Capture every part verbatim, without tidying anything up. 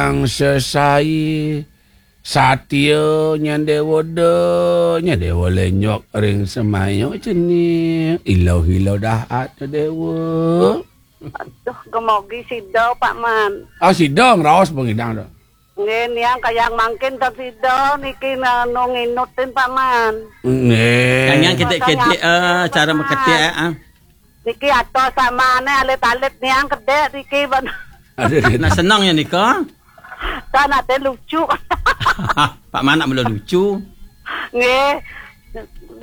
Sang sesai satia nya dewa da, nya dewa lenyok ring semaya cening. Ilau-ilau dahat nya dewa. Aduh, gemogi sida, Pak Man. Ah, sida ngraos pengidang tu. Nggih, niang kayang mangkin tan sida niki anu nginutin, Pak Man. Nggih. Kayang kedek-kedek, eh, cara meketik, eh. Niki atos samane alit-alit niang kedek niki, Pak. Aduh, aduh. Nah, senang ya nika. Tan ate lucu. Pak Manak mula lucu. Nggih.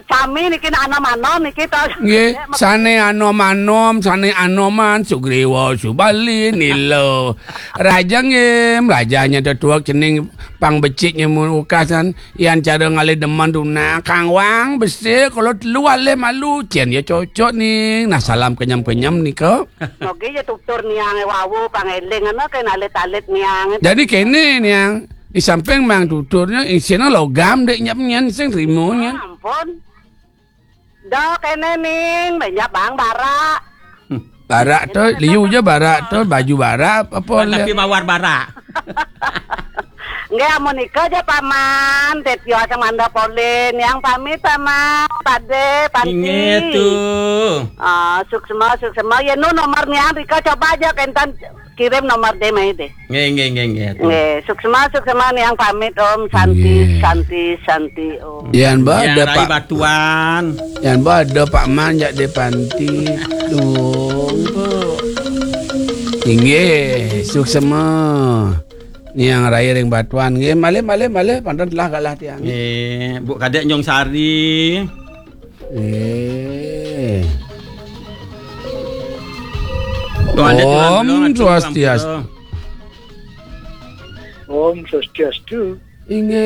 Sami niki nak anom-anom niki to. Nggih, sane anom-anom, sane anoman, Sugriwa, Subali, Nila. Raja nggih, raja nya tetuak cening pang becik nya mun ukasan, yan cara ngalih demen tunang, kangwang, besik, kalau telu alih malu, cen ya cocok ning. Nah, salam kenyem-kenyem nika. Mogi ya tutur niange wau pangeling ana ke alit-alit niange. Jadi kene niang, di samping mang tuturnya isina logam dek nyap nyan sing rimo nyan. Ah, ampun. Da kene ning, banyak bang barak. Barak tu, liu je barak tu, baju barak, apa Wan, tapi mawar barak. Nggih, amun nika ja, Paman. Tetio sing manda polin. Yang pamit, Paman. Pade, Panti. Inggih, tu. Ah, suksma, suksma. Ya, nu nomor niang rika coba aja kentan kirim nomor deh, mai deh. Nggih, nggih, nggih, nggih, tu. Nggih, suksma, suksma niang pamit, Om. Santi, nggih. Santi, Santi, Om. Yan ba Yang ada rai Pak batuan. Yan ba ada Pak Man jak de Panti. Duh, tu. Inggih, suksma. Niang rai ring batuan nggih, malih, malih, malih, panten telah galah tiang. Nggih, Buk Kadek Nyong Sari. Nggih. Tuan Dek, Tuan Om Belong, Atuk Swastiastu. Ampura. Om Swastiastu. Inggih.